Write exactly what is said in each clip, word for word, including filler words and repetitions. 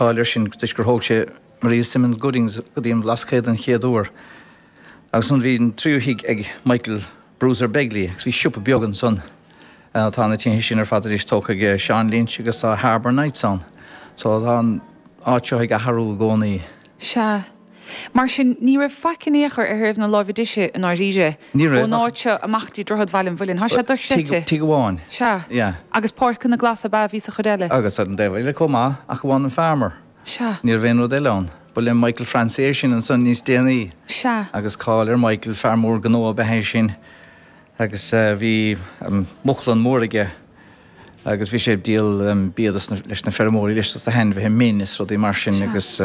cáil air sin toisc gur thóg sé Maria Simmons Goodings go dtí an Bhlascaod an chéad uair. Agus ansan bhí an tríú thigh ag Michael Bruiser Begley agus bhí siopa beag ansan. Tá na tithe sin ar fad anois tógtha ag Seán Lynch agus tá Harbour Nights ann. So tá an áit seo ag athrú i gcónaí. Sea. Mar sin, ní raibh faic in aon chor ar thaobh na láimhe deise i ndáiríre. Ní raibh. Ón áit seo amach dtí Droichead Bhaile an Mhuilinn. Tá sé dochreidte. Tigh amháin. Sea. Yeah. Agus páirceanna glasa ab ea a bhí sa chuid eile. Agus ar an dtaobh eile chomh maith, ach amháin an Farmer. Sea. Ní raibh aon rud eile ann. Ba le Michael Francie é sin ansan níos déanaí. Sea. Agus cáil ar Michael, fear mór gnó ab ea é sin. Agus bhí muclann mór aige agus bhí sé ag díol bia dos na, leis na feirmeoirí leis dos na hainmhithe, min is rudaí mar sin agus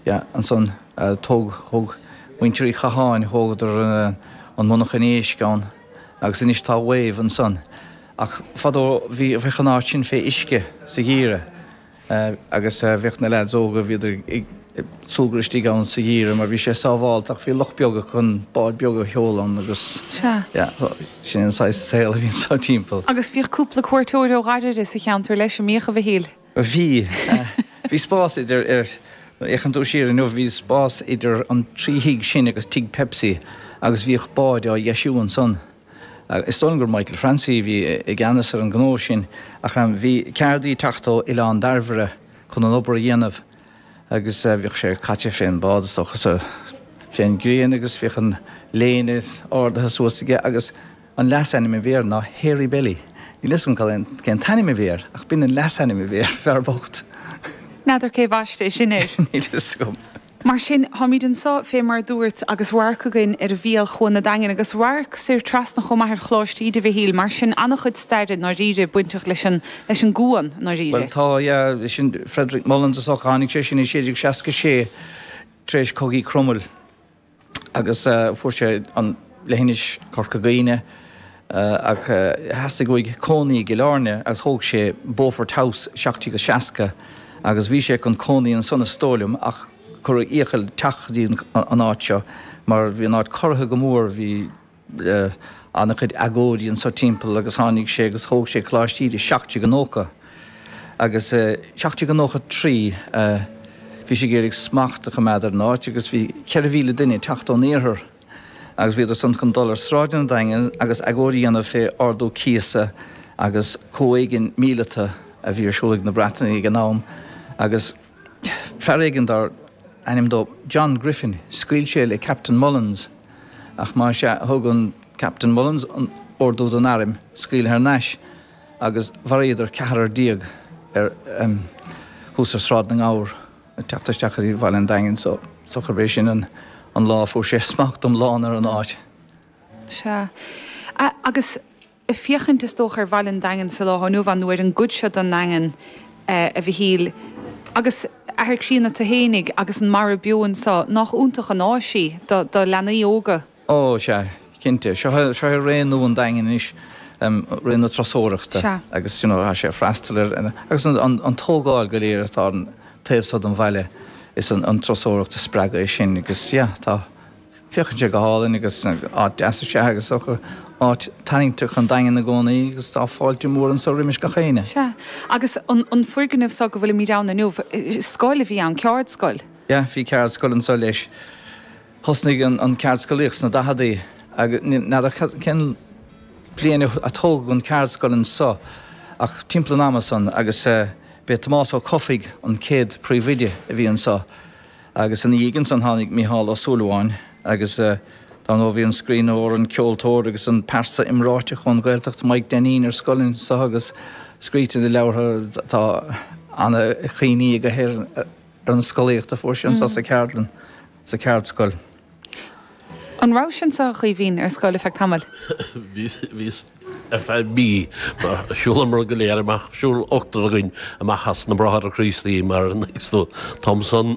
yeah, ansan tóg, thóg muintir Uí Chatháin, thógadar an monarchan éisc ann agus anois tá Wave ansan. Ach fadó bhí, bheadh an áit sin fé uisce sa gheimhreadh agus bheadh na leaids óga, bhíodar ag súgradh istigh ann sa gheimhreadh mar bhí sé sábhálta ach bhí loch beag acu chun báid beag a sheoladh ann agus Sea. yeah, sin an saghas saol a bhí anseo timpeall. Agus bhíodh cúpla cuairteoir ó ghairid sa cheantar leis, an mbíodh, a Mhichíl? Bhí. Bhí spás idir, ar, nuair a fhéachann tú siar inniu, bhí spás idir an trí thigh sin agus tigh Pepsi agus bhíodh báid á dheisiú ansan. Is dóigh liom gur Michael Francie a bhí i gceannas ar an ngnó sin ach bhí ceardaí ag teacht ó Oileán Dairbhre chun an obair a dhéanamh agus bhíodh sé caite fén bád is dócha sa fén ghrian agus bhíodh an léine ardaithe suas aige agus an leasainm a bhí air ná Hairy Belly. Níl fhios agam cad é cén t-ainm a bhí air ach b'in an leasainm a bhí air, fear bocht. N'fheadar cé bhaist é sin air. Níl fhios agam. Mar sin, táimid anseo, fé mar a dúrt, agus radharc againn ar mhíol Chuan an Daingin agus radharc soir trasna chomh maith ar Choláiste Íde Mhichíl, mar sin an-chuid staire i ndáiríre bainteach leis an, leis an gcuan i ndáiríre. Bhuel tá, yeah, sin Frederick Mullins is dócha, tháinig sé sin i sé déag seasca sé tar éis cogaí Chromail agus fuair sé an leithinis Corca Dhuibhne ach theastaigh uaidh cónaí i gCill Airne agus thóg sé Beaufort House seacht déag seasca agus bhí sé chun cónaí ansan is dóigh liom ach cuireadh iachall teacht go dtí an áit seo mar bhí an áit corraithe go mór, bhí an-chuid agóidí anso timpeall agus tháinig sé agus thóg sé Coláiste Íde seacht déag nócha agus seacht déag nócha trí bhí sé ag iarraidh smacht a choimeád ar an áit agus bhí ceithre mhíle duine ag teacht ón iarthar agus bhíodar san chun dul ar sráideanna an Daingin agus agóid a dhéanamh fé ardú cíosa agus comhéigean míleata a bhí ar siúl ag na Breatanaigh ag an am agus fear éigin dar ainm dó John Griffin, scaoil sé le Captain Mullins ach más ea thug an Captain Mullins an ordú don airm scaoileadh thar n-ais agus mharaíodar ceathrar déag ar thuas ar Sráid na nGabhar ag teacht isteach go dtí Bhaile an Daingin so is dócha gurb é sin an an lá a fuair sé smacht iomlán ar an áit. Sea. Agus ag féachaint is dócha ar Bhaile an Daingin sa lá inniu ann nó ar an gcuid seo den nDaingean, a Mhichíl, agus athair críonna tú fhéinig agus an mara beo anso, nách iontach an áis í do do leanaí óga? Ó, sea, cinnte. Seo é, seo é ré nua an Daingin anois, ré na turasóireachta. Sea. Agus, you know, tá sé ag freastal ar, agus an, an, an tógáil go léir atá ar an taobh so den bhaile, is an, an turasóireacht a spreag é sin agus, yeah, tá, féachann sé go hálainn agus áit deas is ea é agus áit tarraingteach an Daingean i gcónaí agus tá fáilte mór anso roimis gach éinne. Sea. Agus an, an foirgneamh so go bhfuilimid ann inniu, scoil a bhí ann, ceardscoil? Yeah, bhí ceardscoil anso leis. Thosnaigh an, an ceardscolaíocht sna daicheadaí agus n'fheadar cén bliain a tógadh an ceardscoil anso ach timpeall an ama san agus b'é Tomás Ó Cofaigh an chéad príomhoide a bhí anso. Agus ina dhiaidh ansan tháinig Mícheál Ó Súilleabháin agus dar ndóigh bhí an scríbhneoir, an ceoltóir agus an pearsa iomráiteach ón Ghaeltacht Mike Denneen ar scoil anso agus scríte i leabhartha tá ana-chuimhní aige ar an scolaíocht a fuair sé anso sa cheardlann, sa cheardscoil. An rabhais anso, a Chaoimhín, ar scoil ar feadh tamaill? Bhíos, bhíos ar feadh mí mar shiúlamar go léir amach, shiúil ochtar againn amach as na Bráithre Críostaí mar an t-am san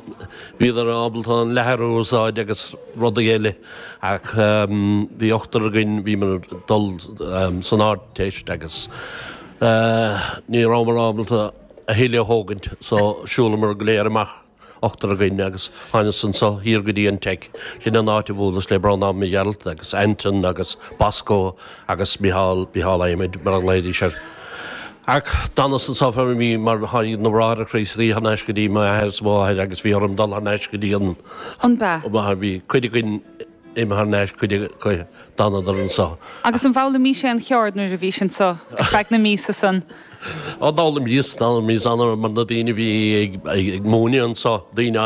bhíodar ábalta an leathar a úsáid agus rudaí eile ach bhí ochtar againn, bhíomar ag dul san Ardteist agus ní rabhamar ábalta a thuilleadh a thógaint so shiúlamar go léir amach. ochtar againn agus thánas anso thiar go dtí an Teic. Sin an áit a bhuaileas le Breandán Mac Gearailt agus Anton agus Bosco agus Micheál, Micheál Adhmaid mar a ghlaoidís air. Ach d'fhanas anso feadh mí mar tháinig na Bráithre Críostaí thar n-ais go dtí m'athair is mháthair agus bhí orm dul thar n-ais go dtí an An b'ea? mháthair. Bhí cuid againn imithe thar n-ais, cuid acu d'fhanadar anso. Agus an bhfoghlaimís aon cheard nuair a bhís anso ar feadh na míosa san? Ó d'fhoghlaimíos, d'fhoghlaimíos ana mar na daoine a bhí ag ag múineadh anso, daoine